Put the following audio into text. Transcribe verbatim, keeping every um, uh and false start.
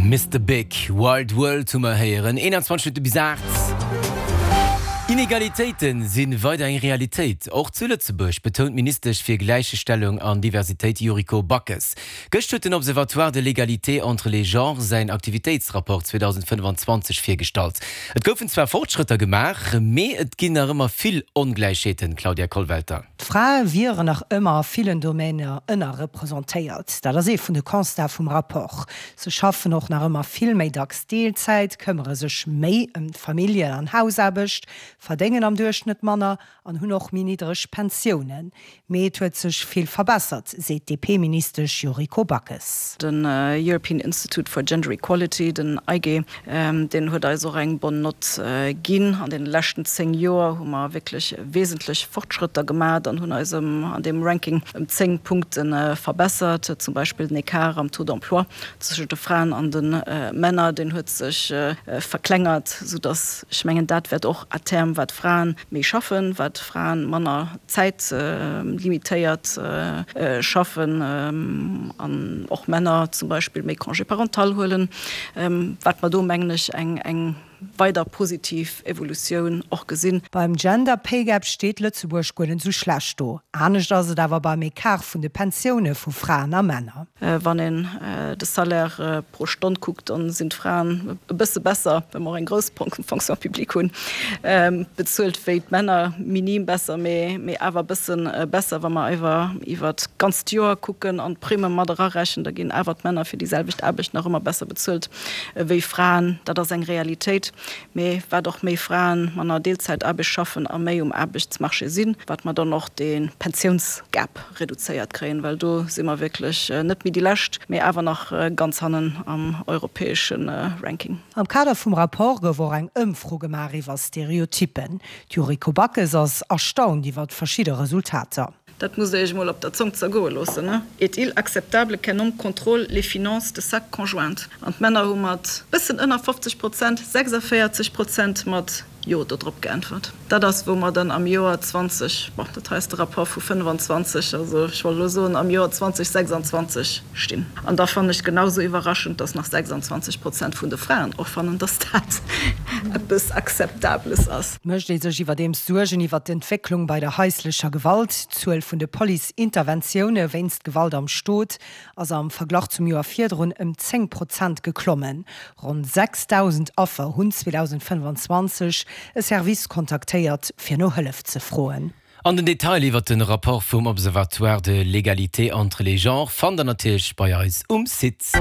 Mister Big, Wild World hu mer héieren, eenanzwanzeg Minutte bis aacht. Inegalitéite si weider eng Realitéit, och zu Lëtzebuerg, betount d'Ministesch fir Gläichstellung an Diversitéit Yuriko Backes. Gëscht huet den Observatoire de l'égalité entre les genres säin Aktivitéitsrapport zweedausendfënnfanzwanzeg virgestallt. Et goufen zwar Fortschrëtter gemaach, mee et ginn nach ëmmer vill Ongläichheeten, Claudia Kollwelter. D'Frae wieren nach ëmmer a villen Domainer ënnerrepresentéiert. Dat ass ee vun de Constate vum Rapport. Se schaffen och nach ëmmer vill méi dacks Deelzäit, këmmere sech méi ëm d'Familljen an Hausaarbecht, verdéngen am Duerchschnëtt manner an hunn och méi niddreg Pensiounen. Mee et huet sech vill verbessert, seet d'DP-Ministesch Yuriko Backes. Den European Institute for Gender Equality, den EIGE, deen huet eis och eng bonne note ginn. An deene leschten zéng Joer hu mer wierklech wesentlech Fortschrëtter gemat an hunn eis an deem Ranking ëm zéng Punkte verbessert. Zum Beispill den Ecart am Taux d'emploi zwëschent de Fraen an de Männer, deen huet sech verklengert, soudass ech mengen, dat wäert och à terme, wat Fraen méi schaffen, wat Fraen manner Zäit limitéiert schaffen an och Männer zum Beispill méi Congé parental huelen, wat mer do, mengen ech, eng weider positiv Evolutioun och gesinn. Beim Gender Pay Gap steet Lëtzebuerg guer net esou schlecht do. Anescht ass et awer beim Ecart vun de Pensioune vu Fraen a Männer. Wann een de Salaire pro Stonn kuckt, da sinn d'Fraen e bësse besser, well mer och eng grouss Fonction publique hunn, bezuelt wéi d'Männer, minim besser, mee awer e bësse besser. Wa mer awer iwwer d'ganzt Joer kucken an d'Primme mat erarechnen, da ginn awer d'Männer fir déi selwecht Aarbecht nach ëmmer besser bezuelt wéi Fraen. Dat ass eng Realitéit. Mee wat och méi Fraen manner Deelzäitaarbecht schaffen a méi um Aarbechtsmarché sinn, wat mer dann och de Pensiounsgap reduzéiert kréien, well do si mer wierklech net méi déi Lescht, mee awer nach ganz hannen am europäesche Ranking. Am Kader vum Rapport gouf och eng Ëmfro gemaach iwwer Stereotyppen. D'Yuriko Backes ass erstaunt iwwer verschidde Resultater. Dat musst Der Iech emol op der Zong zergoe loossen, ne? Est-il acceptable qu'un homme contrôle les finances de sa conjointe? An d'Männer hu mat bëssen ënner fofzeg Prozent, sechsavéierzeg Prozent mat Jo dodrop geäntwert. Dat ass, wou mer dann am Joer zwanzeg, bon, dat hei ass de Rapport vu fënnefanzwanzeg, also ech wollt elo soen am Joer zwanzeg sechsanzwanzeg stinn. An da fannen ech genau esou iwwerraschend, dass nach sechsanzwanzeg Prozent vun de Fraen och fannen, dass dat eppes Akzeptables ass. Mécht ee sech iwwerdeems Suergen iwwer d'Entwécklung bei der haislecher Gewalt. D'Zuel vun de Police-Interventioune wéinst Gewalt am Stot ass am Verglach zum Joer virdrun ëm zéng Prozent geklommen. Ronn sechsdausend Affer hunn zweedausendfënnefanzwanzeg e Service kontaktéiert, fir no Hëllef ze froen. An den Detail iwwer den Rapport vum Observatoire de l'égalité entre les genres fannt der natierlech bei eis um Site.